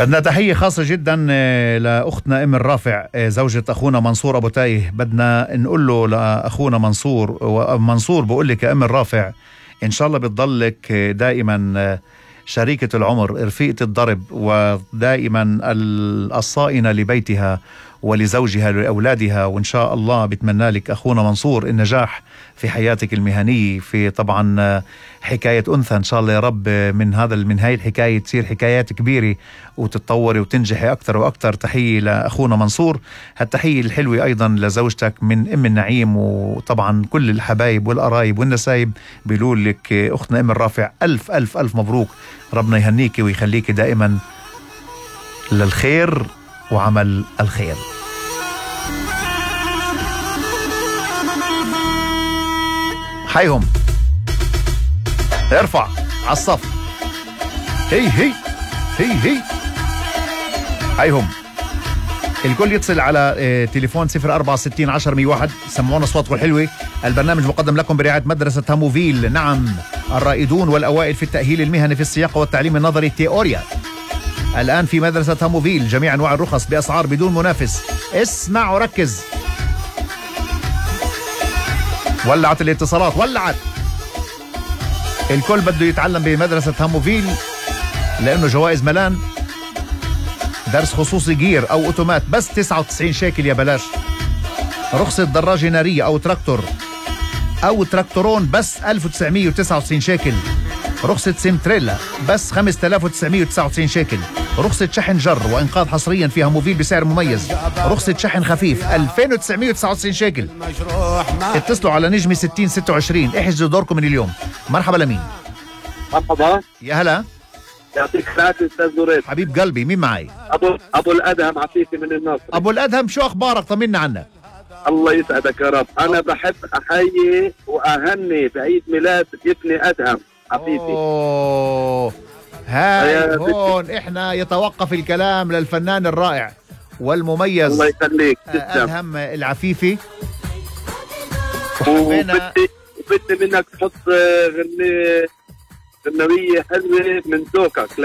بدنا تحية خاصة جدا لأختنا أم الرافع زوجة أخونا منصور أبو تايه. بدنا نقول له لأخونا منصور، ومنصور بقول لك يا أم الرافع إن شاء الله بتضلك دائما شريكة العمر، رفيقة الضرب، ودائما الصائنة لبيتها ولزوجها ولأولادها. وإن شاء الله بتمنى لك أخونا منصور النجاح في حياتك المهنية، في طبعا حكاية أنثى إن شاء الله يا رب. من هاي الحكاية تصير حكايات كبيرة وتتطوري وتنجحي أكتر وأكتر. تحية لأخونا منصور. هالتحية الحلوة أيضا لزوجتك من أم النعيم، وطبعا كل الحبايب والقرايب والنسايب بيقول لك أختنا أم الرافع ألف ألف ألف مبروك. ربنا يهنيك ويخليك دائما للخير وعمل الخير. حيهم ارفع على الصف. هي هي هي هي حيهم. الكل يتصل على تليفون 0460 10 101. سمعونا اصواتكم الحلوه. البرنامج مقدم لكم برعايه مدرسه هاموفيل، نعم الرائدون والاوائل في التاهيل المهني في السياقه والتعليم النظري تيوريا. الآن في مدرسة هاموفيل جميع أنواع الرخص بأسعار بدون منافس. اسمع وركز. ولعت الاتصالات، ولعت. الكل بده يتعلم بمدرسة هاموفيل لأنه جوائز ملان. درس خصوصي جير أو أوتومات بس 99 شيكل يا بلاش. رخصة دراجة نارية أو تراكتور أو تراكتورون بس 1999 شيكل. رخصة سيمتريلا بس 5999 شيكل. رخصة شحن جر وإنقاذ حصريا في هاموفيل بسعر مميز. رخصة شحن خفيف 2999 شيكل. اتصلوا على نجمي 6026 احجزوا دوركم من اليوم. مرحبا لمين؟ مرحبا يا هلا. يعطيك العافية أستاذ زريف. حبيب قلبي، مين معي؟ أبو الأدهم عفيفي من النصر. أبو الأدهم، شو أخبارك؟ طمنا عنك. الله يسعدك يا رب. أنا بحب أحيي وأهني بعيد ميلاد ابني أدهم عفيفي. أوه هاي هون إحنا يتوقف الكلام للفنان الرائع والمميز الله يخليك أدهم العفيفي. وبدي منك تحط غنوية حلوة من ذوقك.